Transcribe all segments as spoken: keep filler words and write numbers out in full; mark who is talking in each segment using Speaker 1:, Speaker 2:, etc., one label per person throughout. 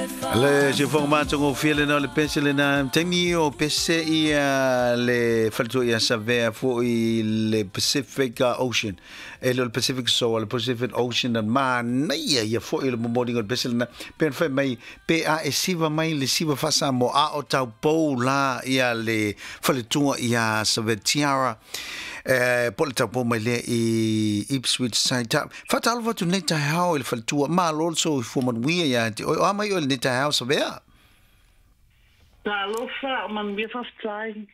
Speaker 1: Le siufoga matagofie lena o le pese lena taimi o pese ia le faletua ia Savea fo'i le Pacific Ocean. E le o le Pacific so le Pacific Ocean na manaia ia fo'i le momoliga o le pese lena pe ona fai mai pe a e siva mai le siva faasamoa a o taupou la ia le faletua ia Savea Tiara e po le taupou mai lea i Ipswich Side. Faatalofa atu nei taeao i le faletua malo le soifua manuia ia te oe o a mai oe lenei taeao Savea.
Speaker 2: Talofa, o manuia faafetai.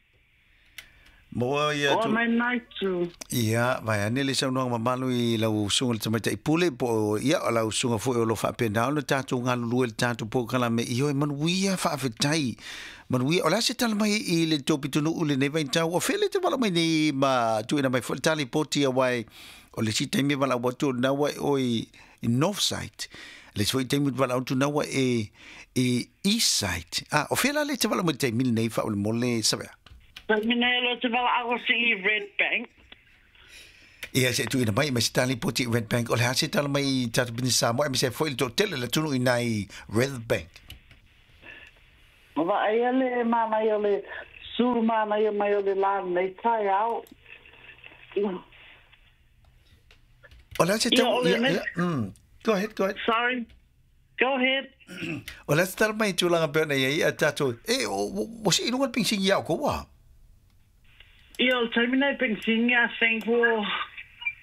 Speaker 1: Moa ia
Speaker 2: O
Speaker 1: tu.
Speaker 2: mai nai tu.
Speaker 1: Ia, vai ane le saunoaga mamalu i lau usuga le tamaitai pule po o ia o lau usuga foi o lo faapena ona tatou galulue le tatou polokalame i oe manuia faafetai. Manuia, o le a se tala mai i le tou pitonuu lenei vaitau o fele te wala mai nei ma tuuina mai foi le tali poti auā o le isi taimi e valaau atu o lena ua e oe i North Side. Le isi foi taimi valaau atu na ua e i East Side. Ah, o fea la le te valaau mai le taimi lenei faamolemole Savea?
Speaker 2: Taimi nei o te valaau atu i Red Bank.
Speaker 1: Ia se tuuina mai ma se tali poti i Red Bank. O le a se tala mai i tatou pisinisi Samoa aemaise ai foi le toatele o le atunuu i nai Red Bank.
Speaker 2: O vaaia le manaia o le sulu manaia mai o le la lenei taeao.
Speaker 1: O le a se
Speaker 2: Ia,
Speaker 1: tau
Speaker 2: o le
Speaker 1: ia,
Speaker 2: nei
Speaker 1: ia, mm. Go ahead, go ahead.
Speaker 2: Sorry. Go ahead.
Speaker 1: O le a se tala mai i tulaga pei ona i ai a tatou e o o se iluga le penisini ia oukou a?
Speaker 2: Ia, o le taimi nei penisini I think ua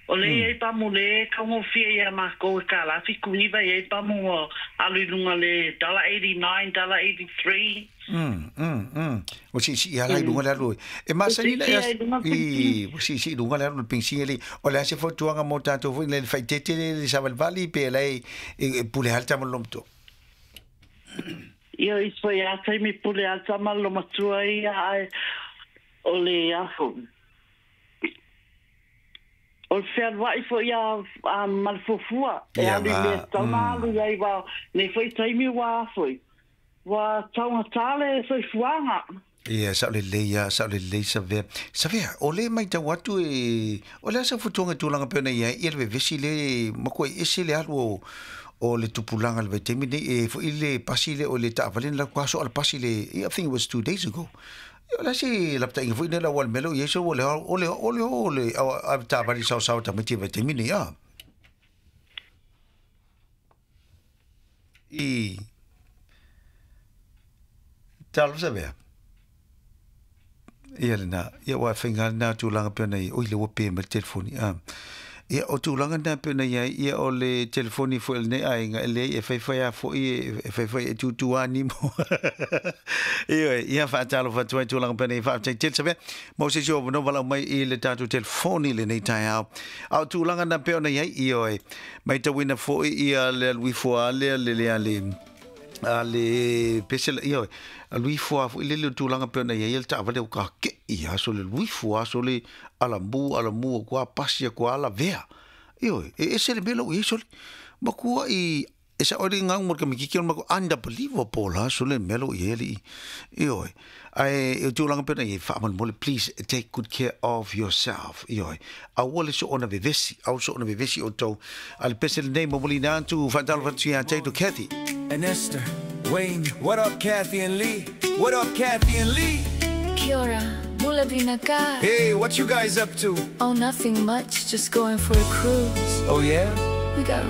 Speaker 2: o le i ai pamu le taugofie ia makou e kālā fitu iva i ai pamu ua alu i luga le dollar eighty nine, dollar eighty three.
Speaker 1: Mm, mm, mm. Ua siisii lava la i luga le alu. E
Speaker 2: Ua
Speaker 1: masani la
Speaker 2: siisii
Speaker 1: ia
Speaker 2: ai luga
Speaker 1: i
Speaker 2: penisini.
Speaker 1: ua siisii i luga le alu o le penisini alii. O le a se fautuaga mo tatou foi le faaeteete le le savalivali pe la e e pule lava le tama le loomatua?
Speaker 2: Ia, i foi a taimi pule a tama le loomatua ia ae o le afu. O le fealuai foi a a ma le fuafua e
Speaker 1: Ia
Speaker 2: alu i
Speaker 1: va,
Speaker 2: mea tatau ona
Speaker 1: mm.
Speaker 2: alu i ai wa nei foi taimi ua foi ua taugata le soifuaga.
Speaker 1: Ia, sao lelei lava, sao lelei Savea. Savea, o lea e matau atu e, o le a sau fautuaga i tulaga pei ona i ai ia le vevesi lea e matua ese le alu o, o le tupulaga i le vaitaimi lenei, e foi le pasi lea o le taavale na latou aso a le pasi le, I think it was two days ago. Ia, o le a se lapataiga foi lea ua le mea lea ua i ai so ua le o le o le o le avetaavale saosaoa tamaiti i le vaitaimi lenei a. I talofa Savea. Ia lena, ia ua faiga lena tulaga pei ona i, oi le ua pe mai le telefoni. Ah. Ia o tulaga na pei ona i ai, ia o le telefoni foi o lenei aiga, e leai e faifai lava foi, e faifai e tutu lava nimo. Ioe, ia faatalofa atu ai tulaga pei ona i ai, faafetai tele Savea mo se isi o avanoa valaau mai i le tatou telefoni i lenei taeao. A o tulaga na pei ona i ai, ioe, matauina foi ia le alu ifo lava lea le le le a le pese la ioe, alu ifo lava foi lele o tulaga pei ona i ai le taavale ua kake'i aso le alu ifo aso le alamu alamu atu lava pasi atu lava lavea. Ioe, e ese le mea la ua i ai sole. Matua'i e sa'o ai le gau ma le tamaitiiti ona matou unbelievable la sole le mea la ua i ai alii. Ioe, ae o tulaga pei ona i ai, faamolemole please take good care of yourself. Ioe, aua le soona vevesi, aua le soona vevesi outou. A le pese lenei momoliina atu, faatalofa atu ia te outou Kathy.
Speaker 3: And Esther, Wayne, what up Kathy and Lee? What up Kathy and Lee?
Speaker 4: Kia ora, bula vinaka.
Speaker 3: Hey, what you guys up to?
Speaker 4: Oh, nothing much, just going for a cruise.
Speaker 3: Oh yeah?
Speaker 4: We got